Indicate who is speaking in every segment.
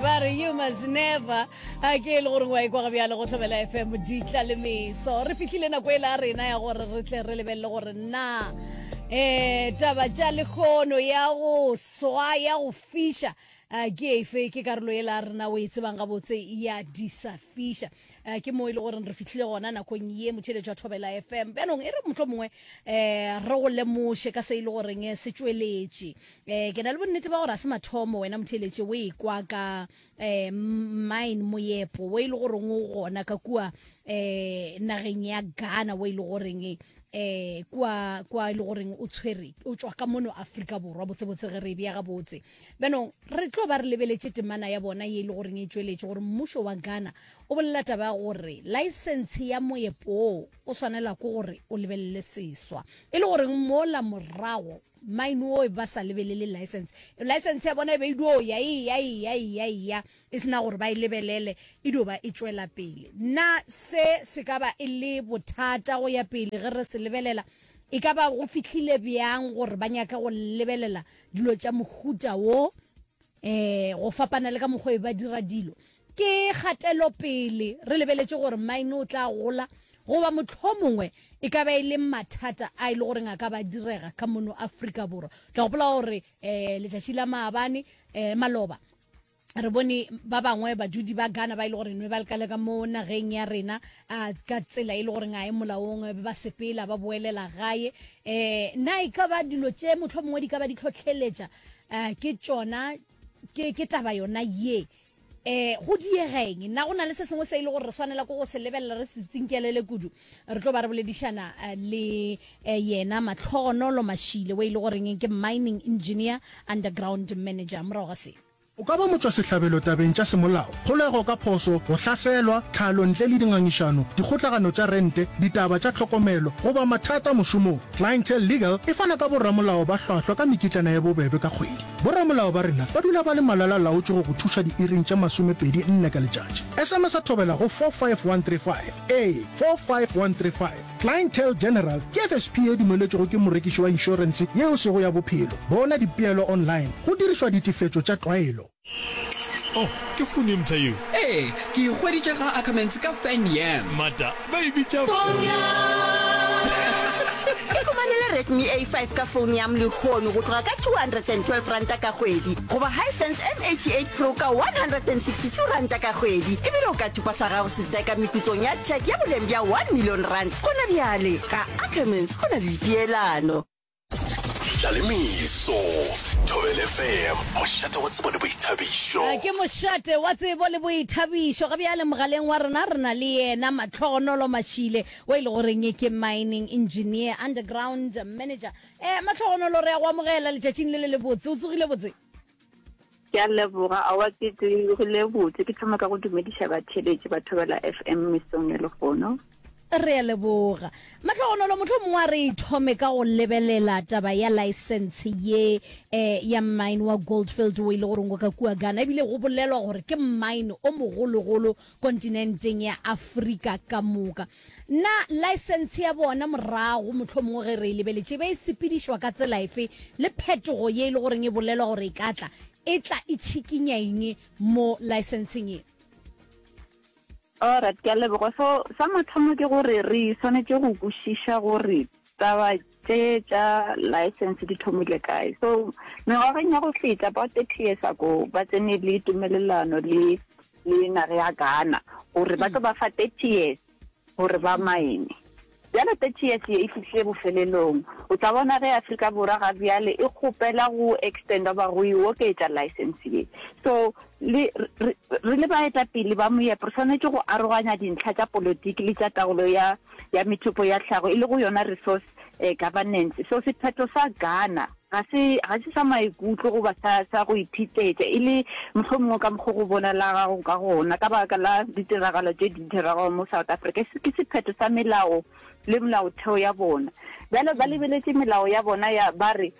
Speaker 1: Ba re you must never a ke e le gore wa ikwa ga bjale go Thobela FM ditla le meso. Re fihlile nako e la rena ya gore re tle re lebelele gore na eh taba tša lekgono ya go swa ya go fiša ke efe ke karolo e la rena o e tsebang gabotse ya di sa fiša. Ke mo e le gore re fihlile gona nakong ye motheletšo wa Thobela FM. Bjanong e re mohlomongwe um re go lemoše ka se e le goreng se tšweletše. Eh, ke na le bonnete ba gore a se mathomo wena motheeletše o e kwa ka eh, mine moyepo wo e le goreng o gona ka kua eh, nageng ya Ghana wo e le goreng eh kwa kwa e le goreng o tshwere o tšwa ka mono Afrika Borwa botsebotse ge re e bea gabotse bjanong re tlo ba re lebeletše temana ya bona ye e le goreng e tšweletše gore mmušo wa Ghana o bolela taba ya gore license ya moyepo wo o swanela ke gore o lebelele seswa e le goreng mola morago Mine wo ba sa lebelele license. License ya bona e be e dio ya e ya e ya e ya e ya e sena gore ba e lebelele e dio ba e tšwela pele. Na se se ka ba e le bothata go ya pele ge re se lebelela? E ka ba go fihlile bjang gore ba nyake go lebelela dilo tša mohuta wo? um go fapana le ka mokgwa e ba dira dilo ke kgatelopele re lebeletše gore mine o tla gola goba mohlomongwe e ka ba e le mathata a e le goreng a ka ba direga ka mono Afrika Borwa. Tla gopola gore um letšatši la maabane um maloba re bone ba bangwe badudi ba Ghana ba e le gore nwe ba lekale ka mo nageng ya rena a ka tsela e le goreng a e molaong ba sepela ba boelela gae um na e ka ba dilo tše mohlomongwe di ka ba di tlhotlheletša um ke tšona ke ke taba yona ye um go diegeng na go na le se sengwe se e le gore re swanela ko go se lebelela re se tsinkelele kudu re tlo ba re boledišana eh, le eh, yena matlhogonolo mashile o e le goreng ke mining engineer underground manager morago ga se
Speaker 2: O ka ba motšwasehlabelo tabeng tša semolao, kgolego ka phoso, go hlaselwa, tlhalo ntle le dingangišano, dikgotlagano tša rente, ditaba tša tlhokomelo, goba mathata mošomong. Clientele Legal e fana ka boramolao ba hlwahlwa ka mekitlana ye bobebe ka kgwedi. Boramolao ba rena ba dula ba le malala-laotšwe go go thuša diiring tše 24 ka letšatši. SMS-a thobela go 45135. Ee, 45135. Clientele General ke FSP ye dumeletšwego ke morekiši wa inšorense yeo sego ya bophelo. Bona dipeelo online go dirišwa ditefetšo tša tlwaelo.
Speaker 3: Oh, ke founu ye mpsha yeo?
Speaker 4: Ee, ke e hweditše ga Ackermans ka Fan Yam.
Speaker 3: Mata, ba e bitša
Speaker 5: Phone Yam! Ikhumanele Redmi A5 ka Phone Yam lehono go tloga ka R212 ka kgwedi goba Hisense M88 Pro ka R162 ka kgwedi ebile o ka thupa sa gago Setseka meputsong ya tšheke ya boleng bja R1 million gona bjale. Ga Ackermans go na le dipeelano.
Speaker 6: Ditlalemeso, Thobela FM, mošate wa tsebo le boithabišo.
Speaker 1: Ke mošate wa tsebo le boithabišo. Ga bjale mogaleng wa rena re na le yena Matlhogonolo Mashile o e le goreng ke mining engineer, underground manager. Eh, Matlhogonolo re ya go amogela letšatšing le le lebotse. O tsogile botse?
Speaker 7: Ke a leboga. Aowa ke tsogile botse. Ke thoma ka go dumediša batheeletši ba Thobela FM mesong ya lehono.
Speaker 1: Re a leboga. Mahlogonolo, mohlomongwe a re thome ka go lebelela taba ya license ye eh, ya mine wa Goldfield o e le goreng o ka kua Ghana, ebile go bolelwa gore ke mine o mogologolo kontinenteng ya Afrika ka moka. Na laesense ya bona morago, mohlomongwe ge re e lebeletše, e be e sepedišwa ka tsela efe, le phetogo ye e le goreng e bolelwa gore e ka tla, e tla e tšhikinya eng mo laesenseng ye?
Speaker 7: Alright, ke a leboga. So, sa mathomo ke gore re swanetše go kwešiša gore taba tše tša license di thomile kae. So, mengwageng ya go feta, about 30 years ago, ba tsene le tumelelano le le naga ya Ghana gore ba tlo ba fa 30 years gore ba mine. Bjale 30 years ye e fihlile bofelelong. O tla bona ge Afrika Borwa ga bjale e kgopela go extenda goba go e oketša license ye. So le re, re le baetapele ba moepo re swanetše go aroganya dintlha tša politiki le tša taolo ya ya methopo ya tlhago e lego yona resource eh, governance. So sephetho sa Ghana ga se ga se sa maikutlo goba sa sa go iphitetša e le mohlomongwe ka mokgo go bonalagago ka gona ka baka la ditiragalo tše di diregago mo South Africa. Ke sephetho sa melao le molaotheo ya bona. Bjale ba lebeletše melao ya bona ya ba re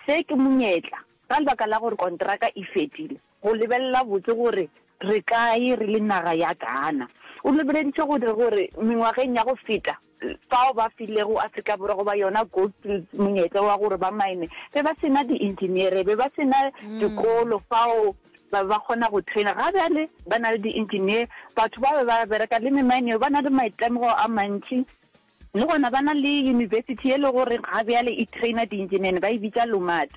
Speaker 7: se ke monyetla ka lebaka la gore kontraka e fedile. Go lebelela botse gore re kae re le naga ya Ghana. O lebeleditše gore gore mengwageng ya go feta fao ba filego Afrika Borwa goba yona Gold Fields monyetla wa gore ba mine, be ba se na di-engineere, be ba se na dikolo fao. Ba be ba kgona go trainer. Ga bjale ba na le di-engineer, batho ba be ba bereka le memaeneng ba na le maitemogelo a mantši. Le gona ba na le university ye le gore ga bjale e trainer di-engineer, ba e bitša LUMAT.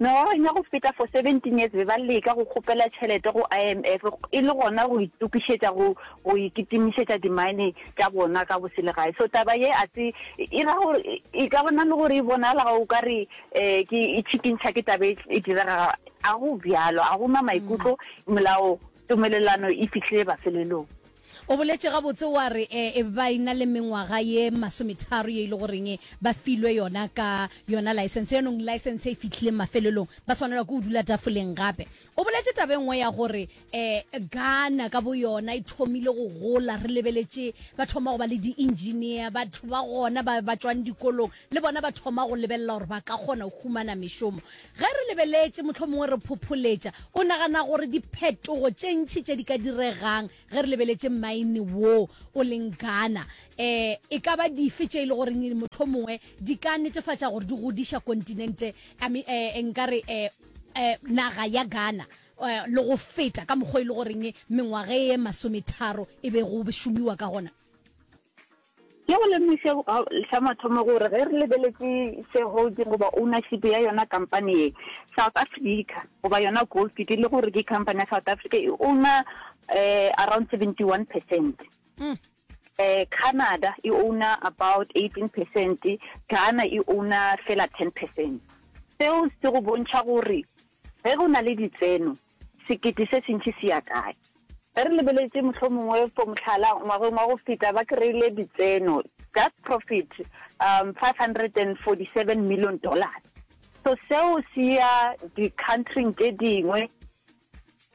Speaker 7: Mengwageng ya go feta for 17 years be ba leka go kgopela tšhelete go IMF e le gona go itokišetša go go ikitimišetša di-mine tša bona ka boselegae. So taba ye a se e ra gore e ka bona le gore e bonala o ka re um ke e tšhikintšha ke taba e diregago. A go bjalo, a go na maikutlo, molao, tumelelano e fihlile mafelelong.
Speaker 1: O boletše gabotse wa re e ba e na le mengwaga ye masometharo ye e le goreng ba filwe yona ka yona license. Yanong license e fihlile mafelelong, ba swanelwa ke go dula tafoleng gape. O boletše taba e nngwe ya gore um Ghana ka boyona e thomile go gola, re lebeletše ba thoma go ba le di-engineer, batho ba gona ba ba tšwang dikolong le bona ba thoma go lebelela gore ba ka kgona go humana mešomo. Ge re lebeletše, mohlomongwe re phopholetša, o nagana gore diphetogo tše ntši tše di ka diregang ge re lebeletše mmaene wo o leng Ghana, um e ka ba dife tše e le goreng mohlomongwe di ka netefatša gore di godiša kontinente, I mean, um nka re um um naga ya Ghana um le go feta ka mokgwa e le goreng mengwaga e masometharo e be go šomiwa ka gona?
Speaker 7: Ke go lemoše sa mathomo gore ge re lebeletše shareholding goba ownership ya yona kampani ye, South Africa goba yona Gold Fields e le gore ke company ya South Africa e owner around 71 percent. Canada e owner about 18 percent, Ghana e owner fela 10 percent. Seo se go bontšha gore ge go na le ditseno sekete se sentši se ya kae? Ge re lebeletše mohlomongwe for mohlala ngwageng wa go feta ba kry-ile ditseno, just profit, um 547 million dollars. So seo se ya di-country-ing tše dingwe,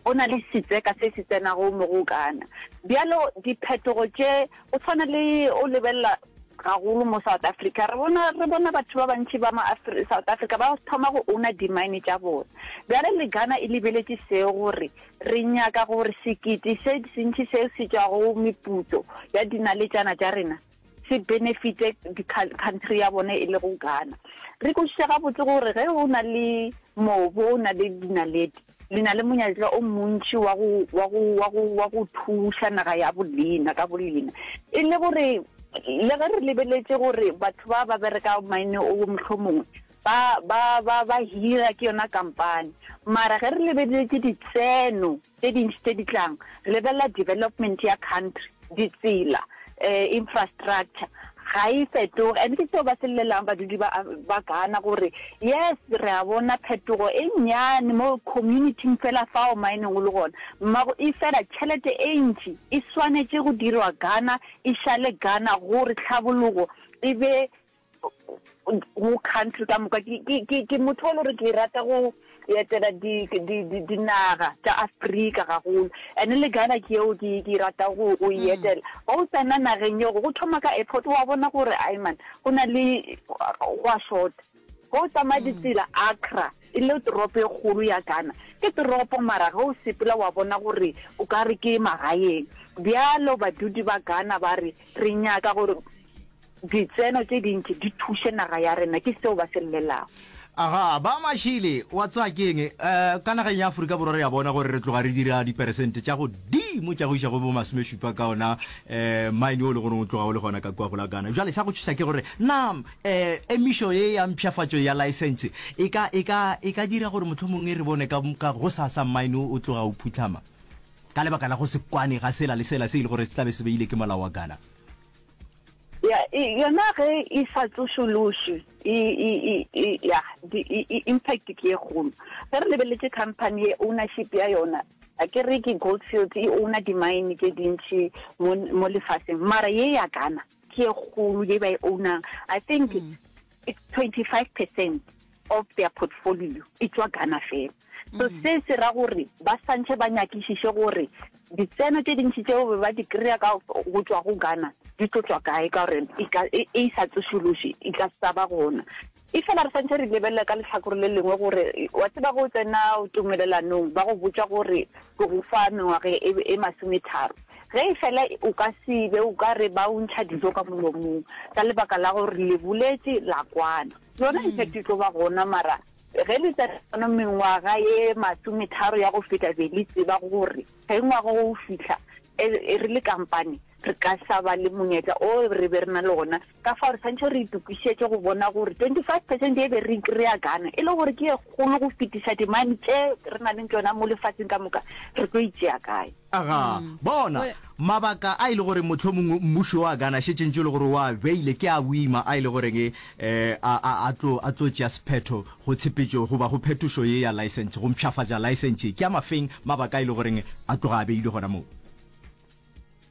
Speaker 7: go na le setseka se se tsenago mo go kana. Bjalo diphetogo tše go tshwana le o lebelela gagolo mo South Africa, re bona, re bona batho ba bantši ba ma South Africa ba thoma go owner di-mine tša bona. Bjale le Ghana e lebeletše seo gore re nyaka gore sekete se sentši se se tšwago meputso ya dinaletšana tša rena se benefite country ya bona e lego Ghana. Re kwešiša gabotse gore ge o na le mobu, o na le dinaledi, Le na le monyetla o montši wa go, wa go, wa go, wa go thuša naga ya bolena ka bolena. E le gore le ge re lebeletše gore batho ba ba bereka mine o mohlomongwe ba, ba, ba, ba hira ke yona kampani, mara ge re lebeletše ditseno tše dintši tše di tlang, re lebelela development ya country, ditsela, infrastructure ga e fetoge and ke seo ba se llelang badudi ba ba Ghana gore yes re a bona phetogo e nnyane mo community-ing fela fao mining o le gona mmago e fela tšhelete e ntši e swanetše go dirwa Ghana e šale Ghana gore tlhabologo e be go country ka moka. Ke, ke, ke, ke motho o le gore ke rata go etela di, di, di, dinaga tša Afrika gagolo. And le Ghana ke yeo ke, ke rata go, go e mm. etela. Ga o tsena nageng yeo, go thoma ka airport, wa bona gore ai man, go na le, go a short. Ge o tsamaya mm. ditsela Accra, e le toropo e kgolo ya Ghana. Ke toropo mara ge o sepela wa bona gore o ka re ke magaeng. Bjalo badudi ba Ghana ba re, re nyaka gore Ditseno tše dintši di thuše naga ya rena, ke seo ba se llelago.
Speaker 8: Aga, ba Mashile, wa tseba ke eng? Eh, ka nageng ya Afrika Borwa re a bona gore re tloga re dira diperesente tša godimo tša go iša go bo masomešupa ka ona eh, mine o le gore o tloga o le gona ka kua go la Ghana. Jwale sa go tšhoša ke gore na eh, emišo ye ya mpshafatšo ya laesense e ka, e ka, e ka dira gore mohlomongwe re bone ka, ka gosasa mine o o tloga o phuhlama ka lebaka la go se kwane ga sela le sela se e le gore se tla be se beile ke molao wa Ghana.
Speaker 7: Ya, e, yona ge e sa tsošološwe, e, e, e, e, ya, di, e, e, impact ke ye kgolo. Ge re lebeletše company ye, ownership ya yona, a ke re ke Gold Fields e owner di-mine tše dintši mo, mo lefaseng, mara ye ya Ghana ke ye kgolo ye ba e ownang. I think mm. it's 25 percent of their portfolio e tšwa Ghana fela. So se se ra gore ba santše ba nyakišiše gore ditseno tše dintši tšeo be ba di kry-a ka go tšwa go Ghana di tlo tšwa kae ka gore e ka e e sa tsošološe e ka sa ba gona. E fela re santše re lebelela ka lehlakore le lengwe gore wa tseba ge o tsena tumelelanong ba go botša gore ke go fa mengwaga e, e masometharo. Ge e fela o ka se be o ka re ba o ntšha dijo ka molomong ka lebaka la gore le boletše la kwana. Yona impact e tlo ba gona mara. Ge le tsena mengwaga ye masometharo ya go feta be le tseba gore ge ngwaga wo o fihla e re le kampane re ka sa ba le monyetla o re be re na le ona. Ka fao re swantšhe re itokišetše go bona gore 25 percent ye be re e kry-a Ghana e le gore ke ye kgolo go fetiša dimine tše re na leng tšona mo lefatsheng ka moka, re tlo e tšea kae?
Speaker 8: Aga, bona, mabaka a e le gore mohlomongwe mmušo wa Ghana šetše ntše e le gore o a beile ke a boima a e le goreng a, a, a tlo, a tlo tšea sephetho go tshepetšo goba go phetošo ye ya license, go mpshafatša license ye. Ke a mafeng mabaka a e le goreng a tloga a beilwe gona moo?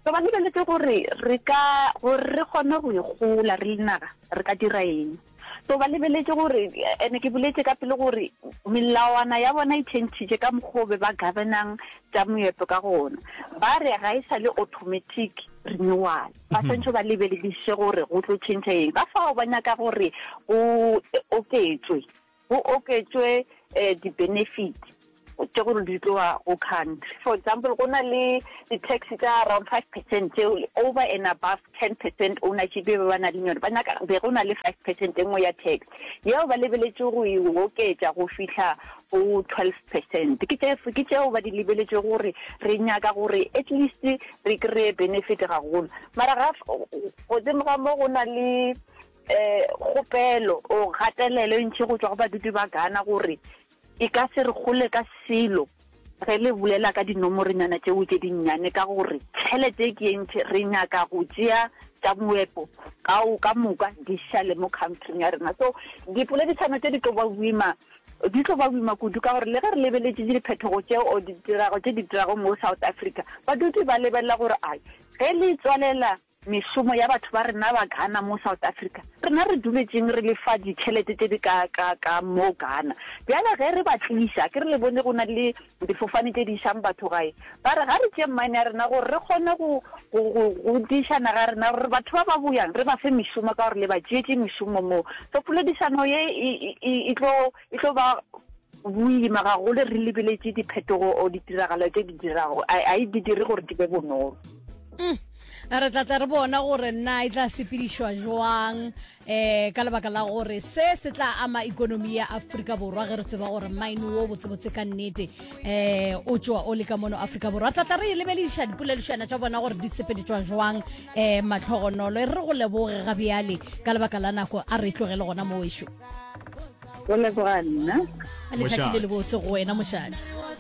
Speaker 7: Re ba lebeletše gore re ka, gore re kgone go ikgola re le naga, re ka dira eng. So ba lebeletše gore, ene ke boletše ka pele gore melawana ya bona e tšhentšhitše ka mokgwa o be ba governang tša moepo ka gona. Ba re ga e sa le automatic renewal. Ba swantšhe ba lebelediše gore go tlo tšhentšha eng. Ka fao ba nyaka gore go oketšwe go oketšwe di-benefit tše gore di tloga go country. For example, go na le di-tax tša around 5% tšeo over and above 10% ownership e be ba na le yone, ba nyaka be go na le 5% e nngwe ya tax yeo ba lebeletše go e oketša go fihla go 12%. Ke tše ke tšeo ba di lebeletše gore re nyaka gore at least re kry-e benefit gagolo. Mara ga godimo ga mo go na le Kgopelo or kgatelelo e ntši go tšwa go badudi ba Ghana gore e ka se re gole ka selo ge le bolela ka dinomorenyana tšeo tše dinnyane ka gore tšhelete e ke e ntši re nyaka go tšea tša moepo kao ka moka di šale mo countryng ya rena. So dipoledišano tše di tlo ba boima di tlo ba boima kudu ka gore le ge re lebeletše diphetogo tše or ditirago tše di dirago mo South Africa badudi ba lebelela gore ai ge le tswalela Mešomo ya batho ba rena ba Ghana mo South Africa, rena re duletšeng re lefa ditšhelete tše di ka ka ka mo Ghana. Bjale ge re ba tliša, ke re le bone go na le difofane tše di išang batho gae, ba re ga re tšee mine ya rena gore re kgone go go go godiša naga ya rena gore batho ba ba boyang re ba fe mešomo ka gore le ba tšeetše mešomo mo. So poledišano ye e e e tlo e tlo ba boima gagolo re lebeletše diphetogo or ditiragalo tše di dirago, a a e di dire gore di be bonolo.
Speaker 1: Mm. Re tla tla re bona gore na e tla sepedišwa jwang um ka lebaka la gore se se tla ama ikonomi ya Afrika Borwa ge re tseba gore mine wo botsebotse ka nnete um o tšwa o le ka mono Afrika Borwa. Tla tla re e lebelediša dipoledišana tša bona gore di sepeditšwa jwang um matlhogonolo. E re go leboge ga bjale ka lebaka la nako a re tlogele gona mo wešo.
Speaker 7: Go leboga nna.
Speaker 1: Letšatši le lebotse go wena mošate.